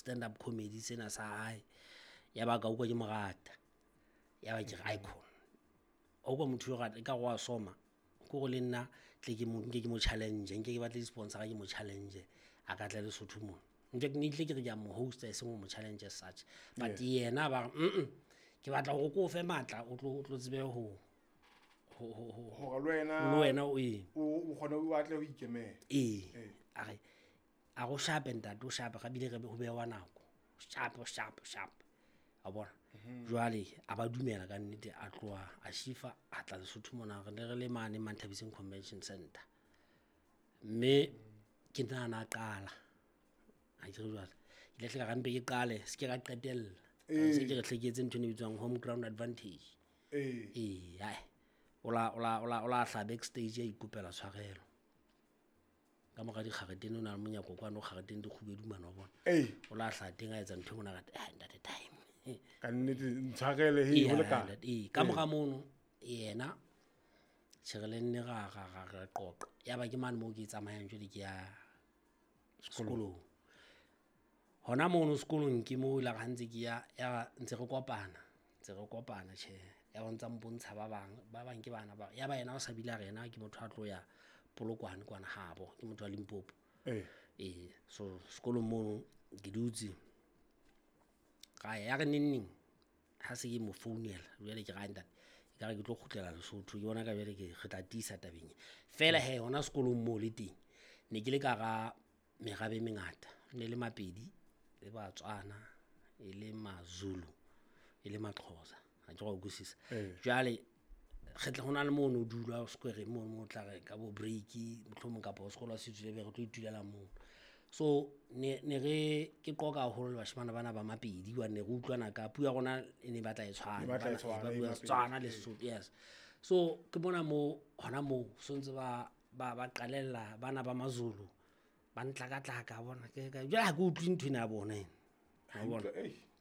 Stand up comedy sena sa hae. Ya ba ka utlwa ke mo rata. Ya ba ke re icon. O kwa motho yo rata ka go a soma. Ko go le nna tle ke mo nke ke mo challenge, nke ke batle di-sponsor ke mo challenge. A ka tla Lesotho mona. Nke ke ne tle ke re ke a mo hosta e seng ho mo challenge as such. But yena ba re ke batla hore ko o fe matla o tlo tsebe ho Hore le wena le wena o eng. O kgone o atle ho ikemela. Ee. A re a go shape ntate, o shape ga bile re ho bewa nako. Sharp sharp sharp. A bona. Jwale a ba dumela ka nnete, a tloha a shifa a tla Lesotho mona, re ne re le mane Manthabiseng Convention Center. Mme ke nahana a qala. Ha ke re jwale. Ke ile hle ka re mpe ke qale, se ke ka qetella. Se ke re hle ke etse ntho e bitswang home ground advantage. Ee, hai. O la hla backstage a ikopela tshwarelo. Ka mora dikgaretene o na le monyako kwano, kgaretene di kgubedu mane wa bona. O la hla teng a etsa ntho e monate, ntate time. Ka nnete ntshwarele he ho lekana. Ee, ka mora mono yena tjhe re le nne ra qoqa. Ya ba ke mane moo ke tsamayang jwale ke ya sekolong. Hona mono sekolong ke moo la ha ntse ke ya, ya ntse re kopana, ntse re kopana tjhe. Ya ba ntsa mpontsha ba bang, ba bang ke bana ba. Ya ba yena o sa bile a re yena ke motho a tlo ya Polokwane kwana habo, ke motho wa Limpopo. Ee, so sekolong mono ke dutse. Ka ya re neng ha se ke mo founela, jwale ke ra ntate, e ka re ke tlo kgutlela Lesotho, ke bona ka jwale ke re tla tiisa tabeng e. Fela he hona sekolong moo le teng, ne ke le ka hara merabe e mengata, ne le Mapedi, le Batswana, e le Mazulu, e le Maxhosa. Ha ke ra utlwisisa. Jwale re tla hona le mono dula square mono mo tla re ka bo break mohlomong kapa sekolo se tswile be re tlo itulela moo. So ne re ke qoqa haholo le bashemane bana ba Mapedi hobane ne re utlwana ka puo ya rona e ne batla e tshwana. E batla e tshwana, Ba e bua Mapedi. Setswana le Sesotho, yes. So ke bona mo hona moo so ntse ba qalella bana ba Mazulu ba ntlakatlaka bona ke ka jwale ha ke utlwe ntho ena ya bona ena. Wa bona?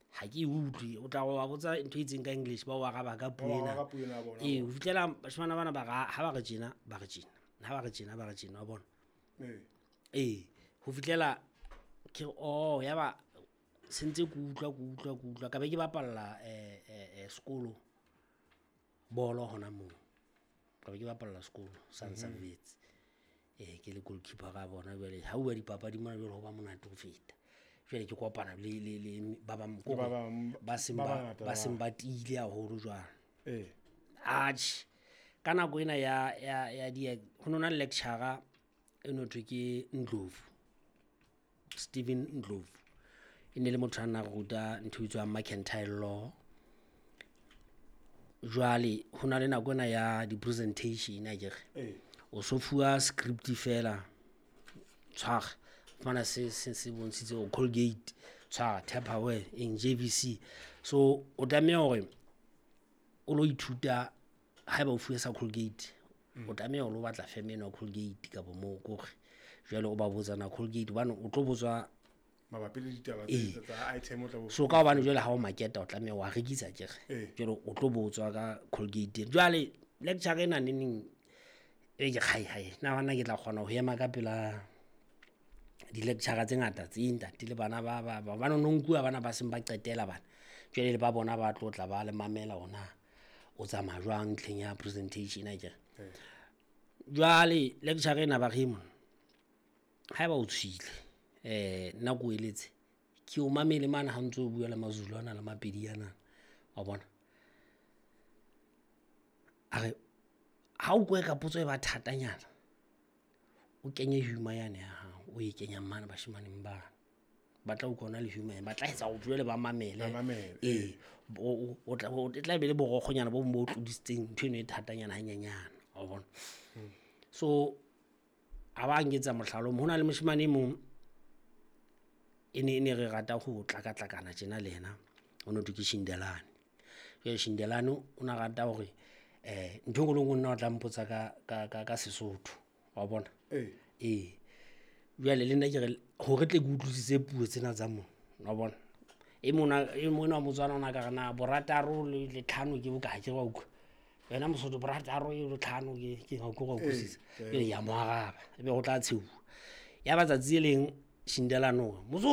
Ha ke utlwe, o tla wa botsa ntho e itseng ka English ba o araba ka puo Ba o ena. araba ka puo ena ya bona. Ee, ho fihlela bashemane bana ba ra, ha ba re tjena, ba re tjena. Ha ba re tjena, ba re tjena, wa bona? Ee, ho fihlela ke re, oh, ya ba se ntse ke utlwa, ke utlwa, ke utlwa. Ka be ke bapalla, sekolo bolo hona moo. Ka be ke bapalla sekolo sa Nsavetse. Ke le goalkeeper ra bona jwale. Ha bua dipapadi mona jwale ho ba monate ho feta. Jwale ke kopana le ba bang Le ba bang ba seng ba ba, bangata ba ba. seng ba tiile haholo jwalo. Atjhe, ka nako ena ya di, ho nona le lecturer e no thwe ke Ndlovu, Steven Ndlovu. E ne le motho a nna ruta ntho e bitswang mercantile law. Jwale ho na le nako ena ya di-presentation akere. O so fuwa script fela, tshwara, fumana se bontshitse hore Colgate, tshwara, Tupperware, eng, JVC. So o tlameha hore o lo ithuta haeba o fuwe sa Colgate, o tlameha o lo batla firm eno ya Colgate kapa moo kore jwale o ba botsa na Colgate hobane o tlo botswa mabapi le ditaba tsa item o tla bo So ka hobane jwale ha o marketa o tlameha wa rekisa akere. Jwale o tlo botswa ka Colgate. Jwale lecture ena neneng e ke kgai hai, na bana ke tla kgona ho ema ka pela di-lecture tse ngata tse ntate le bana ba, ba, ba, ba no no nkuwa bana ba seng ba qetela bana. Jwale le ba bona ba tlo tla ba le mamela hona o tsamaya jwang ntlheng ya presentation akere. Jwale lecture ena ba re mona, haeba o tshwile, nna ke o eletse, ke o mamele mane ha ntso o bua le Mazulu ana le Mapedi ana, wa bona. A re, ha o kwe ka potso e ba thatanyana, o kenye humor yane ya hao, o e kenyang mane bashemaneng bana. Ba tla utlwa ona le humor ena, ba tla etsa hore jwale ba mamele. Ba mamele, Ee, bo, o, o tla, o, e tla be le borokgonyana bo bong bo tlodisitseng ntho eno e thatanyana hanyenyana, wa bona. So a ba nketsa mohlala o mong, ho na le moshemane e mong e ne re rata ho tlakatlakana tjena le yena, o no thwe ke Shindelane. Jwale Shindelane o na rata hore, ntho e nngwe le nngwe nna o tla mpotsa ka Sesotho, wa bona. Ee. Jwale le nna ke re, hore tle ke utlwisise puo tsena tsa mona, wa bona. E mona, e mona wa Motswana o na ka re na borataro le tlhano ke bokae, ke wa utlwa. Wena Mosotho, borataro le tlhano ke ha ke wa utlwisisa. Jwale ya mo araba, ebe ho tla tshehuwa. Ya ba tsatsi le leng Shindelane o re, Mosotho.